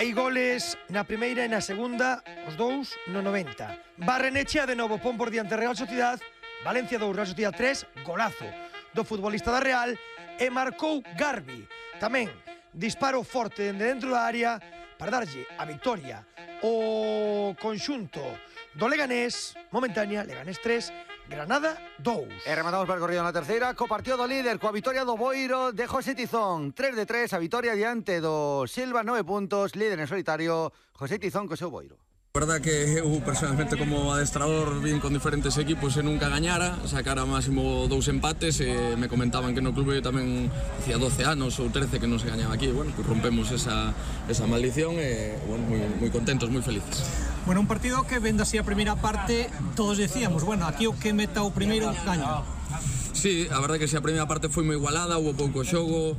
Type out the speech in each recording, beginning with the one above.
Hai goles na primeira e na segunda, os dous no 90. Barrenechea de novo, pon por diante Real Sociedad, Valencia 2, Real Sociedad 3, golazo do futbolista da Real, e marcou Garbi. Tamén disparo forte dentro da área para darlle a victoria o conxunto do Leganés, momentánea, Leganés 3, Granada 2. E rematamos percorrido na terceira co partido do líder, coa vitoria do Boiro de José Tizón. 3-3, a vitoria diante do Silva, 9 puntos, líder en solitario, José Tizón co seu Boiro. A verdad que eu personalmente como adestrador vin con diferentes equipos e nunca gañara, sacara máximo 2 empates e me comentaban que no clube tamén hacía 12 anos ou 13 que non se gañaba aquí. Bueno, pues rompemos esa maldición e bueno, moi contentos, moi felices. Bueno, un partido que vendo así a primeira parte, todos decíamos, bueno, aquí o que meta o primeiro gaña. Sí, a verdade que a primeira parte foi moi igualada, hubo pouco xogo,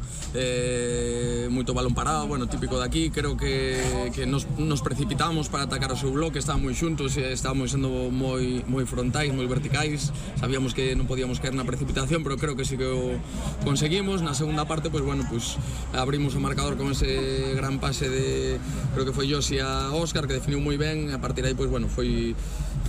moito balón parado, bueno, típico de aquí. Creo que nos precipitamos para atacar o seu bloque, estábamos moi xuntos, estábamos sendo moi frontais, moi verticais. Sabíamos que non podíamos caer na precipitación, pero creo que sí que o conseguimos. Na segunda parte, pues bueno, pues abrimos o marcador con ese gran pase de, creo que foi Josi a Óscar, que definiu moi ben. A partir de aí, pues bueno, foi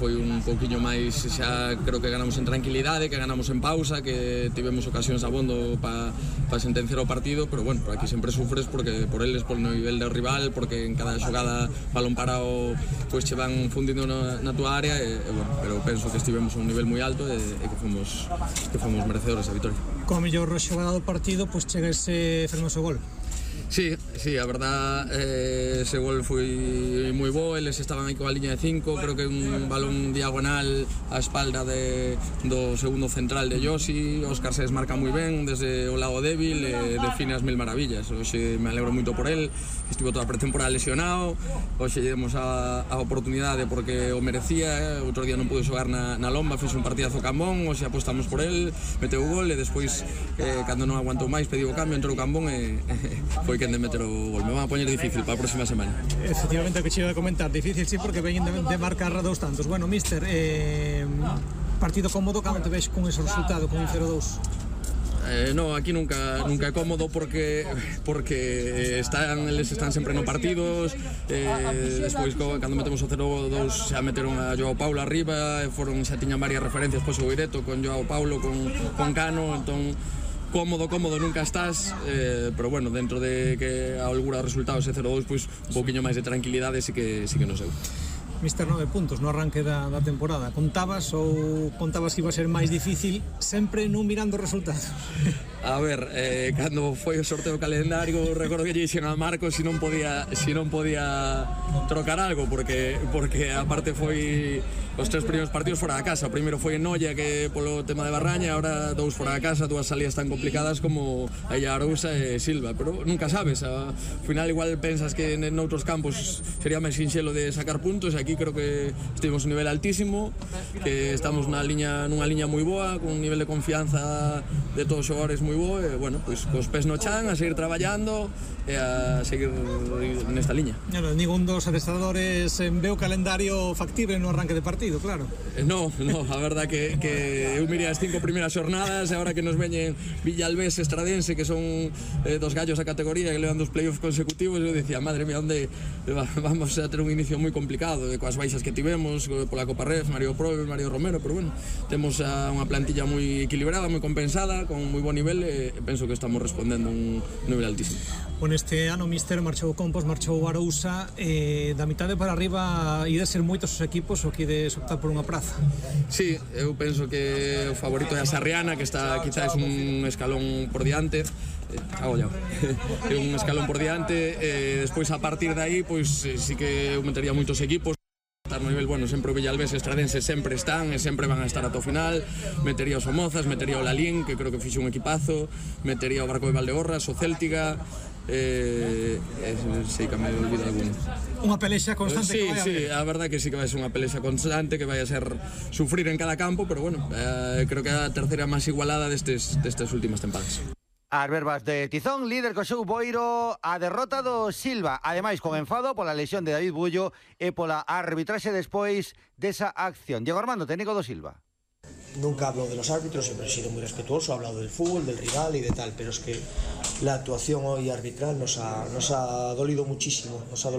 un pouquiño máis, xa creo que ganamos en tranquilidade, que ganamos en pausa, que tivemos ocasións abondo para sentenciar o partido, pero bueno, aquí sempre sufres porque por eles, por nivel do rival, porque en cada xogada balón parado pois che van fundindo na túa área e bueno, pero penso que estivemos a un nivel moi alto e que fomos merecedores da vitória. Como mellor xogada do partido, pois chega ese fermoso gol. Sí, a verdad, ese gol foi moi bo, eles estaban aí coa liña de 5, creo que un balón diagonal á espalda do segundo central de Josi. Óscar se desmarca moi ben desde o lado débil e define as mil maravillas. Hoxe me alegro moito por el, estivo toda a pretemporada lesionado, hoxe lle demos a oportunidade porque o merecía, outro día non pude xogar na Lomba, fixe un partidazo Cambón, hoxe apostamos por el, meteu o gol e despois, cando non aguantou máis, pediu o cambio, entrou Cambón e foi quen de meter o gol. Me van a poñer difícil para a próxima semana. Efectivamente, o que che iba a comentar, difícil sí, porque veñen de marcar dous tantos. Bueno, míster, partido cómodo cando te ves con ese resultado, con un 0-2? No, aquí nunca é cómodo porque eles están sempre no partidos. Despois cando metemos o 0-2 xa meteron a Joao Paulo arriba, xa tiñan varias referencias, pois o directo con Joao Paulo, con Cano, entón cómodo nunca estás, pero bueno, dentro de que a holgura do resultado ese 0-2, pois un pouquiño máis de tranquilidade sí que non sei. Mister, 9 puntos no arranque da temporada. Contabas que iba a ser máis difícil sempre non mirando o resultado? A ver, cando foi o sorteo calendario, recordo que lle dixen a Marcos se non podía trocar algo, porque aparte foi os 3 primeiros partidos fora da casa. O primeiro foi en Noia, que polo tema de Barraña, agora 2 fora da casa, 2 salidas tan complicadas como a Arousa e Silva, pero nunca sabes, ao final igual pensas que noutros campos sería máis sinxelo de sacar puntos, e aquí creo que estivemos un nivel altísimo, que estamos nunha liña moi boa, con un nivel de confianza de todos os xogadores moi bo, e bueno, pois cos pés no chan, a seguir traballando e a seguir nesta liña. Ningún dos adestradores ve o calendario factible no arranque de partido, claro. No, a verdad que eu mirei as 5 primeiras xornadas e agora que nos veñen Villalbés, Estradense, que son dos gallos da categoría que levan 2 playoffs consecutivos, eu dicía, madre mía, onde vamos a ter un inicio moi complicado, coas baixas que tivemos pola Copa Ref, Mario Probe, Mario Romero, pero bueno, temos unha plantilla moi equilibrada, moi compensada, con moi bon nivel, e penso que estamos respondendo un nivel altísimo. Bueno, este ano, míster, marchou Compos, marchou Arousa, da mitade para arriba ide ser moitos os equipos o que ides optar por unha praza. Sí, eu penso que o favorito é a Sarriana, que está quizás un escalón por diante, é un escalón por diante, despois a partir de aí, pois sí que eu metería moitos equipos. No nivel, bueno, sempre o Villalbés e Estradense sempre están e sempre van a estar ata o final. Metería os Somozas, metería o Lalín, que creo que fixe un equipazo, metería o Barco de Valdeorras, o Céltiga, sei que me olvido alguno. Unha pelexa constante. Sí, a verdade que sí que vai ser unha pelexa constante, que vai a ser sufrir en cada campo, pero bueno, creo que é a terceira máis igualada destes últimas tempadas. As verbas de Tizón, líder co seu Boiro, a derrota do Silva, ademais con enfado pola lesión de David Bullo e pola arbitraxe despois desa acción. Diego Armando, técnico do Silva. Nunca hablo de los árbitros, siempre he sido muy respetuoso, he hablado del fútbol, del rival y de tal, pero es que la actuación hoy arbitral nos ha dolido muchísimo,